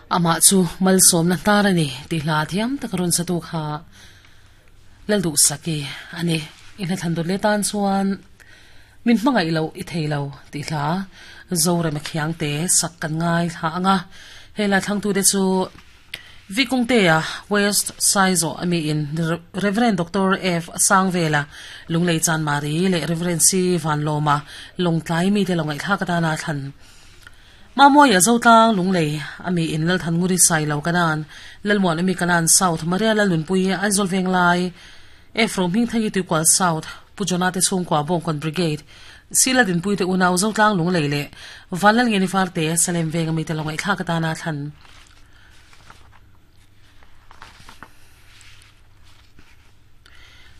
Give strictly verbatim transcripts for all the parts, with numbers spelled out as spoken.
Ama chu malsom na tarani ti hla thiam takaron sa tu kha laldu saki ani ina thandor le tan chuan min hmangai lo i theilo ti hla zore ma khiang te sak kan ngai tha anga hela thangtu te chu Vikungtea West Saizo ami in Reverend Doctor F Sangvela Lunglei Chan Mari le Reverend C Van Loma Longtlai mi te longai thla ka ta na than Mamoya Zotlang Lunglei ami in lal than nguri sai lo kanan lalmuan ami kanan South Maria Lalunpui Aizol Venglai F Rom hing thangi tu kwal South Pujona te chung kwa Bongkon Brigade Sila din pui te unaw Zotlang Lunglei le Vanlal ngeni farte Salem Veng ami te longai thla ka ta na than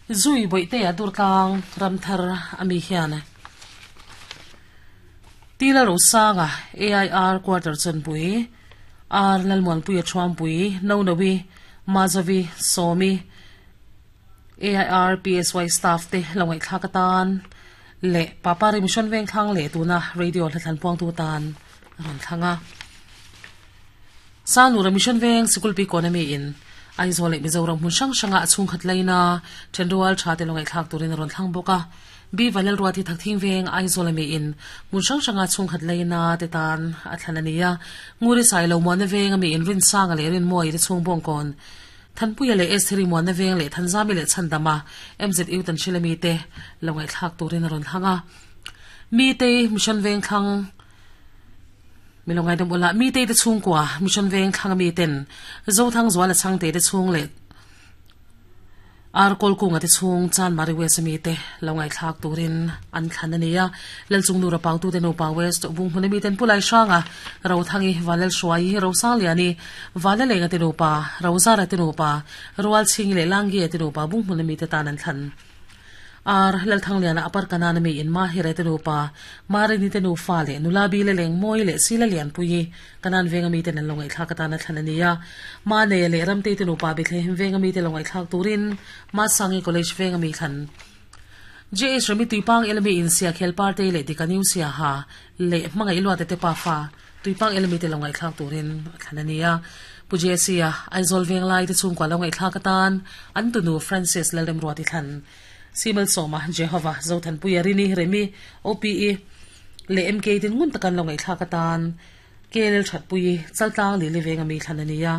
Zui boite a durtlang ramthar ami hian Tila Rosanga A I R quarter chanpui R Lalmuan pui a thuampui no nawi Mazavi Somi A I R P S Y staff te longai thla ka tan le papa ri mission veng thlang le tuna radio hlathan puang tu tan ron thlanga Sanu ra mission veng sikul pi economy in Aizawl leh Mizoram hmun hrang hranga a chhung khat laina thenrual tha te longai thlak turin rawn thlang bawk a B Vanlal Ruati thakthing veng Aizawl ami in hmun hrang hranga chhung khat laina te tan a thlan ania nguri sai lo muan na veng ami in rin sanga leh rin mawi te chhung bawng kawn Thanpuia leh Estheri muan na veng leh Thanzami leh Chhandama M Z U tan hrilami te longai thlak turin rawn thlang a mi te mission veng thlang milongai dam ula mi te te chung kwa mission veng thlang mi ten zo thang zwala chang te te chung le ar kol ku nga te chung chan mari west mi te longai thlak turin an thlan ania lal chung nu ra pang tu te no pa west bung hmun mi ten pulai shanga ro thangi walal shwai ro sang liani walal lenga te no pa ro zara te no pa roal ching le langi te no pa bung hmun mi te tan an thlan ar lal thang liana apar kanan mi in ma hire te nupa mari ni te nu fa le nula bi le leng moi le sila lian pui kanan venga mi te nan longai thla ka ta na thlan ania ma ne le ram te te nupa bi the venga mi te longai thlak turin ma sangi college venga mi thlan J S rami tuipang elmi in sia khel party le dikaniu sia ha le mangai ilwa te te pa fa tuipang elmi te longai thlak turin thlan ania Puje sia Aizol veng lai te chung kwa longai thlak tan an tunu Francis lalrem ruati thlan Simel Soma Jehovah Zothan Puyarini Remi O P E le M K tin ngun takan longai thla ka tan K L that pui chaltlang li le venga mi thlanania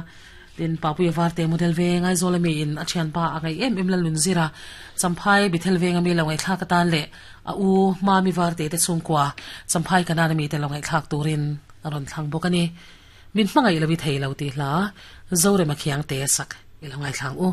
tin papui varte model venga zolami in achian pa angai em em lalun zira champhai bithel venga mi longai thla ka tan le a u ma mi varte te chungkwa champhai kana mi te longai thlak turin aron thlang bokani min hmangai lawi thei lo ti hla zore ma khiang te sak ilongai thlang u.